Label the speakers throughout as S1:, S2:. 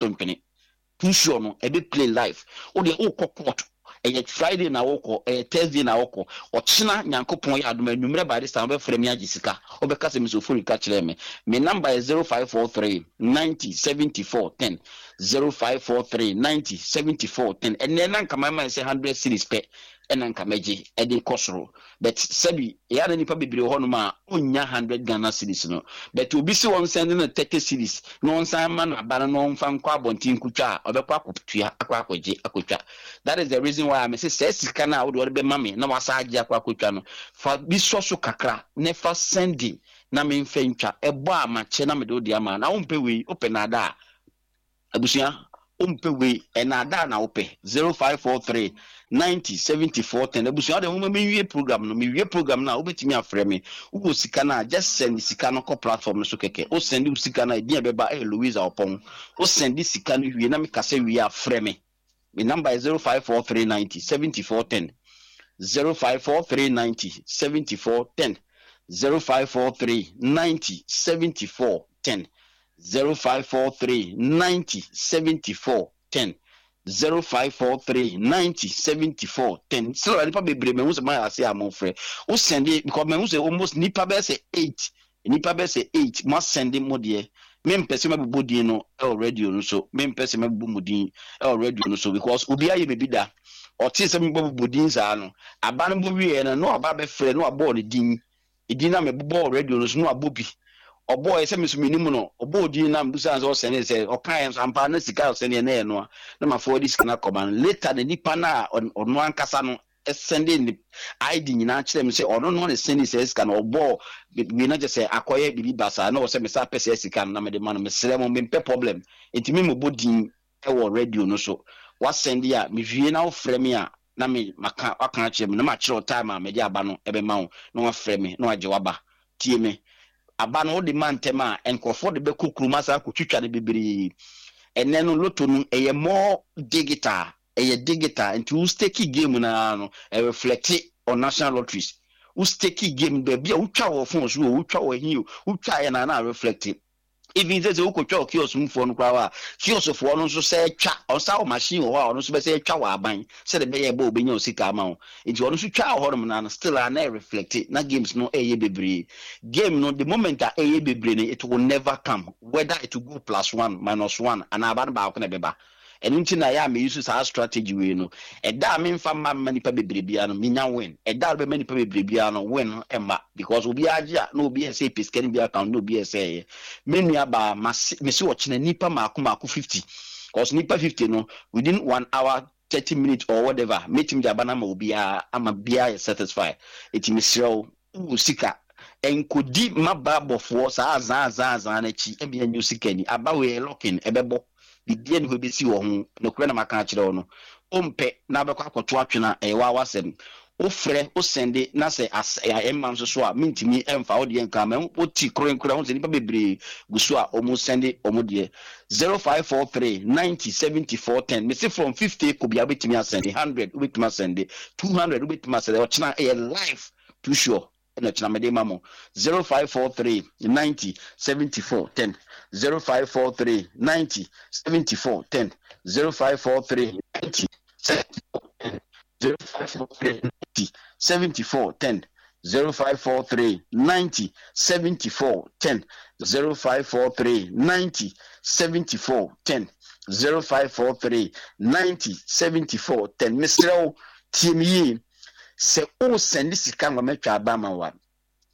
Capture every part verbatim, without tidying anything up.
S1: Ntwene too sure no, ɛbɛ play live. Wo deɛ, wokɔ court, ɛyɛ Friday na wokɔ, ɛyɛ Thursday na wokɔ, ɔkyena Nyankopɔn yɛ adom, anwummerɛ by this time wobɛfrɛ me agye sika. Wobɛka sɛ Mister Ofori ka kyerɛ me. Me number yɛ zero five four three ninety seventy-four ten, zero five four three ninety seventy-four ten. Ɛnɛ na nka mama sɛ hundred cedis pɛ ɛna nka mɛgye ɛde kɔ soro, but sɛbi, ɛyɛ na nipa bebree wɔ hɔnom a ɔnnya hundred Ghana cedis no, but obi si wɔn send no thirty cedis na wɔn san ma no aba no na wɔnfa nkɔ abɔnten nkotwa a, ɔbɛkɔ akɔtua, akɔ akɔgye akɔtwa. That is the reason why I say sɛ sika no a wode wɔde bɛma me na wasa agye akɔ akɔtwa no, fa bi sɔ so kakra na fa send na memfa ntwa. Ɛbɔ a makyɛ na mede wode ama na wompɛ wei, wopɛ nada a, abusua, wompɛ wei, ɛnada na wopɛ. zero five four three ninety seventy-four ten. Abusua de, nwoma menwie program no, mewie program no a, wobɛtumi afrɛ me. Wowɔ sika no a, just send sika no kɔ platform no so kɛkɛ. Wo send wo sika no a, ɛdin a ɛbɛba ɛyɛ Louisa Ɔpɔn. Wo send sika no wie na mekasa wie a, frɛ me. Me number yɛ zero five four three ninety seventy-four ten, zero five four three ninety seventy-four ten, zero five four three ninety seventy-four ten, zero five four three ninety seventy-four ten, zero five four three ninety seventy-four ten. Sɛ nipa bebree mɛhu sɛ mayɛ ase a mofrɛ, wo send, because mɛhu sɛ almost nipa bɛyɛ sɛ eight, nipa bɛyɛ sɛ eight mo asend mo deɛ. Mempɛ sɛ mɛbobɔ din no ɛwɔ radio no so, mempɛ sɛ mɛbobɔ mu din ɛwɔ radio no so, because obi ayɛ baabi da ɔte sɛ mebɔbobɔ din saa no, aba no bɔ wieɛ no na waba bɛfrɛ na wabɔɔ ne din, edin na mebobɔ radio no so na wabɔ bi. Ɔbɔɔ sɛ meso menim no, ɔbɔɔ din na mbusa sɛ ɔsɛne sɛ ɔkaeɛ nso ampa na sika ɔsɛne na ɛyɛ no a, na mafoɔ de sika no akɔma no. Later na nipa no a ɔno ankasa no ɛsend ne I D nyinaa kyerɛ me sɛ ɔno no ne send sɛ sika no ɔbɔɔ wei, na kyɛ sɛ akɔyɛ biribi basaa na wɔ sɛ mesa pɛ sɛ sika no na mede ma no. Mesrɛ mo, mempɛ problem, nti me mobɔ din ɛwɔ radio no so. Wasend a, mewie na wofrɛ me a, na me maka waka akyerɛ me na makyerɛ wo time a mede aba no ɛbɛma wo na wafrɛ me na wagye waba. Tie me, aba no wode ma ntɛm a, nkurɔfoɔ de bɛkɔ kurom asa akɔtwitwa no bebree. Ɛnɛ no lotto no ɛyɛ more digital, ɛyɛ digital, nti wo stake game naa no, ɛreflect on national lotteries. Wo stake game baabi a wotwa wɔ phone so o, wotwa wɔ hin o, wotwa yɛ na na reflect. Even sɛ sɛ wokɔtwa wɔ kiosk mufoɔ no koraa a, kioskfoɔ no nso sɛ twa ɔnsa wɔ machine wɔ hɔ a, ɔno nso bɛsɛ twa wɔ aban sɛde bɛyɛ ɛbɔ obɛnya wo sika ama wo, nti ɔno nso twa wɔ hɔnom na no still a na ɛreflect na games no ɛyɛ bebree. Game no, the moment a ɛyɛ bebree no, it will never come, whether it will go plus one, minus one, anaa aba no baako na ɛbɛba. Ɛno nti na yɛ a meyi so saa strategy wei no. Ɛda a memfa mma mma nipa bebree biara no, menya win. Ɛda a bɛma nipa bebree biara no, win no ɛmma, because obiara gye a na obi ɛsɛ pɛ sika no bi account na obi ɛsɛ ɛyɛ. Me nua baa, mase mesi ɔkyena nipa maako maako fifty, cause nipa fifty no, within one hour thirty minutes or whatever, metumi de aba no ama obiara ama biara yɛ satisfy. Eti mesrɛ wo, wowɔ sika, nkodi mmabaa bɔfoɔ saa azaa azaa azaa n'akyi ɛmi ɛnyɛ sika ni. Aba wei yɛ locking, ɛbɛbɔ biribiara ni hɔ bɛsi wɔ ho. Nokorɛ na maka akyerɛ wo no, wompɛ na wobɛkɔ akɔto atwene a, ɛyɛ waa wasɛm. Wofrɛ, wosend na sɛ as ɛma nso so a, mentumi ɛmfa wo deɛ nka ma woti korenkora ho sɛ nnipa bebree gu so a ɔmo send ɔmo deɛ. zero five four three ninety seventy-four ten. Mese from fifty kɔ bia, wobɛtumi asend hundred, wobɛtumi asend two hundred, wobɛtumi asend. Ɔkyena ɛyɛ live too sure ɛna kyena mede ma mo. zero five four three ninety seventy-four ten, zero five four three ninety seventy-four ten, zero five four three ninety seventy-four ten, zero five four three ninety seventy-four ten, zero five four three ninety seventy-four ten, zero five four three ninety seventy-four ten, zero five four three ninety seventy-four ten. Mesrɛ wo, tie me yie. Sɛ wosend sika ma mɛtwa aba ama wa,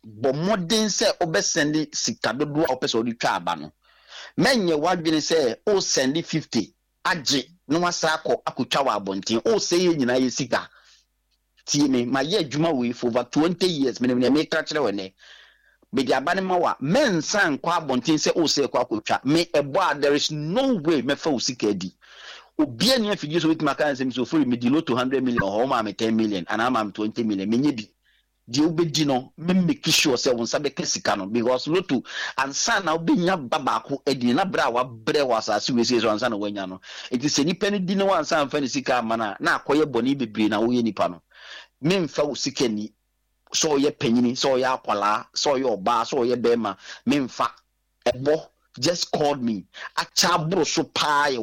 S1: bɔ mmɔden sɛ wobɛsend sika dodoɔ a wopɛ sɛ wode twa aba no. Mɛnyɛ w'adwene sɛ wosend fifty agye na wasa akɔ akɔtwa wɔ abɔnten. Wosɛ yɛ nyinaa yɛ sika. Tie me, mayɛ adwuma wei for over twenty years, menim nea meka kyerɛ wɔ nɛ. Mede aba no ma wa, mɛnsa nkɔ abɔnten sɛ wosɛ kɔ akɔtwa me ɛbɔ a, there is no way mɛfa wo sika adi. Obiara ni afidie so wobɛtumi aka nsɛm sɛ ofori medi lotto hundred million hɔ, ɔma me ten million anaa ma me twenty million, menyɛ bi. Deɛ wobɛdi no, make sure sɛ wo nsa bɛka sika no, because lotto ansa na wobɛnya ba baako adi na berɛ a wabrɛ wɔ asase wei sei so ansa na woanya no. Nti sɛ nipa no di ne wansa amfa ne sika ama no a, na akɔyɛ bɔne bebree na woyɛ nipa no. Memfa wo sika ni, sɛ ɔyɛ panyini, sɛ ɔyɛ akwalaa, sɛ ɔyɛ ɔbaa, sɛ ɔyɛ bɛrima, memfa ɛbɔ. Just called me. Akyɛ aboro so paa yɛ.